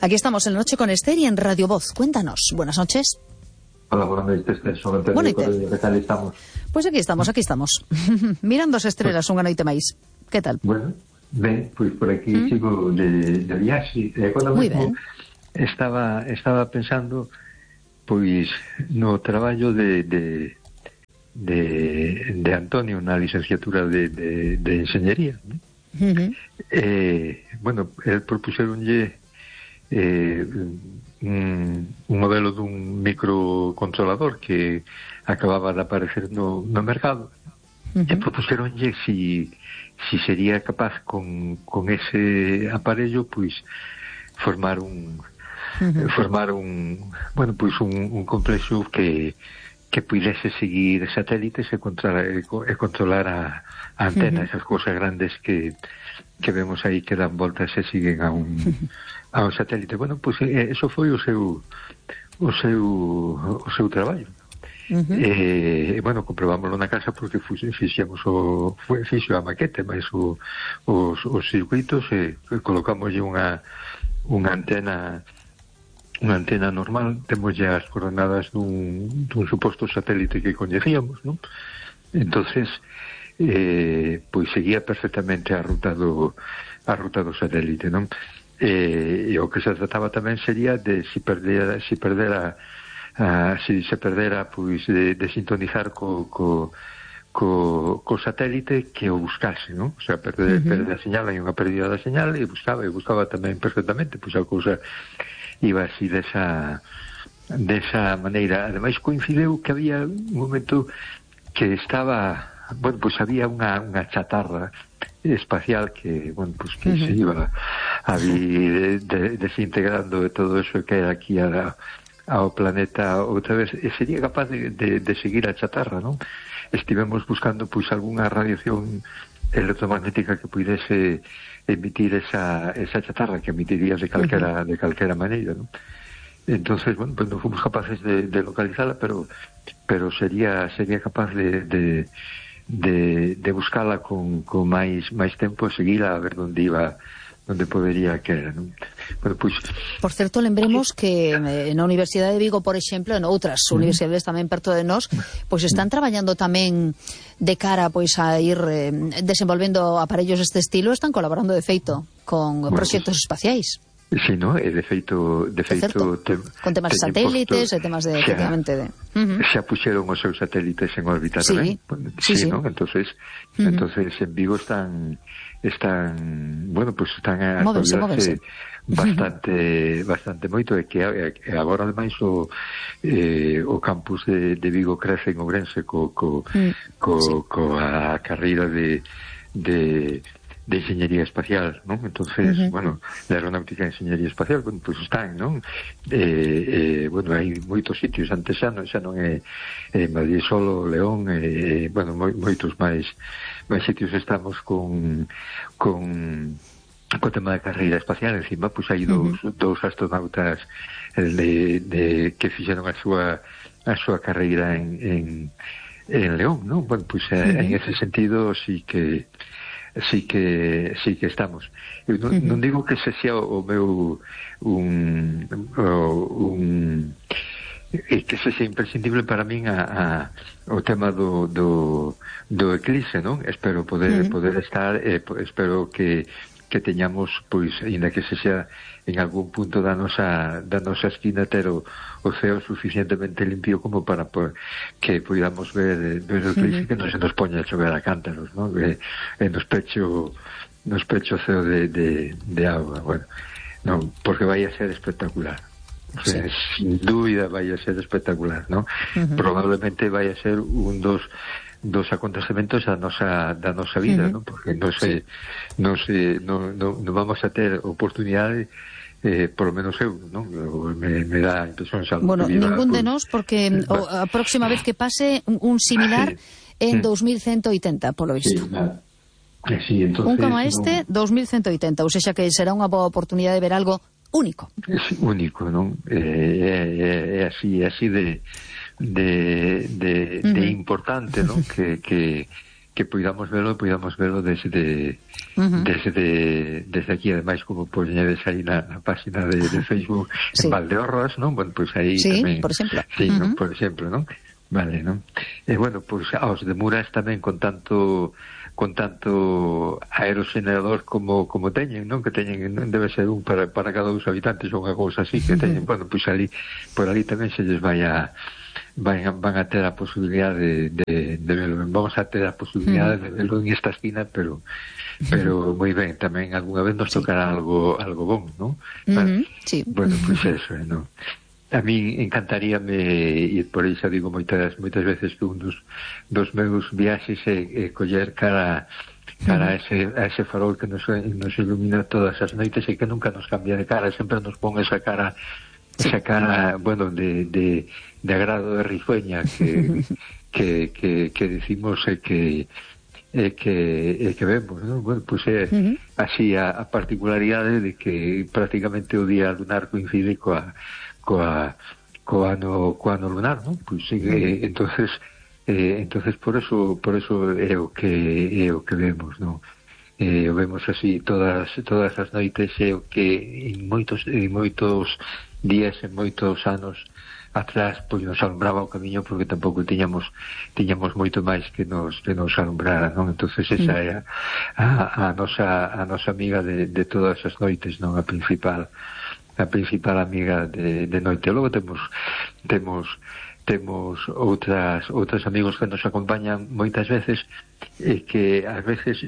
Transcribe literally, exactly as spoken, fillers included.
Aquí estamos en La Noche con Esther y en Radio Voz. Cuéntanos. Buenas noches. Hola, buenas noches, Esther. Sobre todo, ¿qué tal estamos? Pues aquí estamos, aquí estamos. Mirando as estrelas unha noite máis. Que tal? Bueno, ben, pois por aquí mm. sigo de, de viaxe. E quando mesmo estaba, estaba pensando pois no traballo de, de, de, de Antonio na licenciatura de, de, de Enxeñería. Uh-huh. Eh, bueno, el propuxeronlle eh, un, un modelo dun microcontrolador que acababa de aparecer no, no mercado. Uh-huh. E propuxeronlle si, si sería capaz con, con ese aparello pois formar un uh-huh. formar un bueno, pois un, un complexo que que pudese seguir satélites e controlar, e controlar a, a antena, uh-huh. esas cousas grandes que, que vemos aí que dan voltas e siguen a un, a un satélite. Bueno, pois pues, eso foi o seu o seu o seu traballo. Uh-huh. E, bueno, comprobámoslo na casa porque fixemos o fixo a maquete, mas o, os, os circuitos e colocamos unha unha antena unha antena normal, temos ya as coordenadas dun, dun suposto satélite que coñecíamos, non? Entonces eh, pois seguía perfectamente a ruta do a ruta do satélite, non? Eh, e o que se trataba tamén sería de si perdera si perdera a, si se perdera pois de, de sintonizar co, co co, co satélite que o buscase, non? O sea, perder, uh-huh. perder a señal, hai unha pérdida da señal e buscaba, e buscaba tamén perfectamente, pois a cousa iba así desa desa maneira. Ademais coincideu que había un momento que estaba, bueno, pois había unha, unha chatarra espacial que, bueno, pois que uh-huh. se iba a vir de, desintegrando de todo eso que era aquí a, ao planeta outra vez, e sería capaz de, de, de seguir a chatarra, non? Estivemos buscando pois algunha radiación electromagnética que pudese emitir esa, esa chatarra que emitiría de calquera, uh-huh. de calquera maneira, ¿no? Entonces, bueno, pues no fomos capaces de, de localizarla, pero pero sería sería capaz de de, de, de buscarla con, con máis máis tempo e seguila a ver onde iba, onde podería que era, ¿no? Bueno, pues, por certo, lembremos que na Universidade de Vigo, por exemplo, en outras uh-huh. universidades tamén perto de nós, pois están traballando tamén de cara pois a ir eh, desenvolvendo aparellos deste estilo, están colaborando de feito con bueno, proxectos pues, espaciais. Sí, no, e de feito, de feito te, con temas de satélites e temas de, xa, efectivamente, de... Uh-huh. xa puxeron os seus satélites en órbita sí, tamén. Sí, sí, sí. ¿No? Entonces, uh-huh. entonces en Vigo están están, bueno, pues están a actualizarse bastante bastante moito, e que agora ademais o eh, o campus de, de Vigo crece en Ourense co, co, mm, co, sí. co a carreira de de de enxeñería espacial, non? Entonces, uh-huh. bueno, de aeronáutica e enxeñería espacial, bueno, pois pues están, non? Eh, eh, bueno, hai moitos sitios, antes xa non, xa non é eh, Madrid solo, León, eh, bueno, moi, moitos máis máis sitios estamos con con co tema da carreira espacial. Encima, pois pues, hai dous, uh-huh. dous astronautas de, de, que fixeron a súa a súa carreira en, en, en León, non? Bueno, pois pues, uh-huh. en ese sentido sí que sí que sí que estamos. Eu non, uh-huh. non digo que se sea o meu un o, un e que se sea imprescindible para min a, a o tema do do, do eclipse, non? Espero poder uh-huh. poder estar, eh, espero que que teñamos, pois, ainda que se sea en algún punto da nosa da nosa esquina, ter o, o ceo suficientemente limpio como para por, que podamos ver, ver o eclipse, uh-huh. que non se nos poña a chover a cántaros, non? E, e nos pecho nos pecho ceo de, de, de agua, bueno, non, porque vai a ser espectacular. O sea, sí. Sin dúbida vai a ser espectacular, non? Uh-huh. Probablemente vai a ser un dos dos acontecementos da nosa da nosa vida, uh-huh. non? Porque non se non se non, non, non vamos a ter oportunidade, eh, por lo menos eu, non? Me, me dá a impresión xa. Bueno, ningún de nós, porque eh, o, a próxima vez que pase un, un similar sí. en dos mil ciento oitenta, polo visto. Sí, sí, entonces, un como este, no... dos mil ciento oitenta, ou seja que será unha boa oportunidade de ver algo único. É único, non? É, é, é así, é así de de, de, uh-huh. de importante, non? Que, que, que podamos verlo, podamos verlo desde uh-huh. desde desde aquí, ademais como poñedes aí na, na página de, de Facebook sí. en Valdeorras, non? Bueno, pois pues aí sí, tamén, por exemplo. Sí, uh-huh. non? Por exemplo, non? Vale, non? E bueno, pois pues, aos de Muras tamén con tanto con tanto aerogenerador como como teñen, non? Que teñen, non debe ser un para, para cada dos habitantes ou unha cousa así que teñen, bueno, pois pues ali por ali tamén se lles vai a van, van a ter a posibilidade de, de, de verlo. Vamos a ter a posibilidade uh-huh. de verlo en esta esquina, pero pero moi ben, tamén algunha vez nos tocará sí. algo algo bon, non? Uh-huh. Sí. Bueno, pois pues eso, non? A mí encantaríame ir por aí, xa digo moitas moitas veces que un dos, dos meus viaxes é, é coller cara cara uh-huh. a, ese, a ese farol que nos, nos ilumina todas as noites e que nunca nos cambia de cara, sempre nos pon esa cara esa cara, bueno, de, de, de agrado de risueña que, que, que, que decimos e que e que, e que vemos, ¿no? Bueno, pois pues é uh-huh. así a, a particularidade de que prácticamente o día lunar coincide coa coa, coa ano, coa ano lunar, ¿no? Pois pues, eh, entonces eh, entonces por eso por eso é o que é o que vemos, ¿no? Eh, o vemos así todas todas as noites é o que en moitos en moitos días, en moitos anos atrás, pois nos alumbraba o camiño porque tampouco tiñamos tiñamos moito máis que nos que nos alumbrara, non? Entonces esa é a, a, a nosa a nosa amiga de, de todas as noites, non? A principal a principal amiga de, de noite. Logo temos temos temos outras outros amigos que nos acompañan moitas veces e que ás veces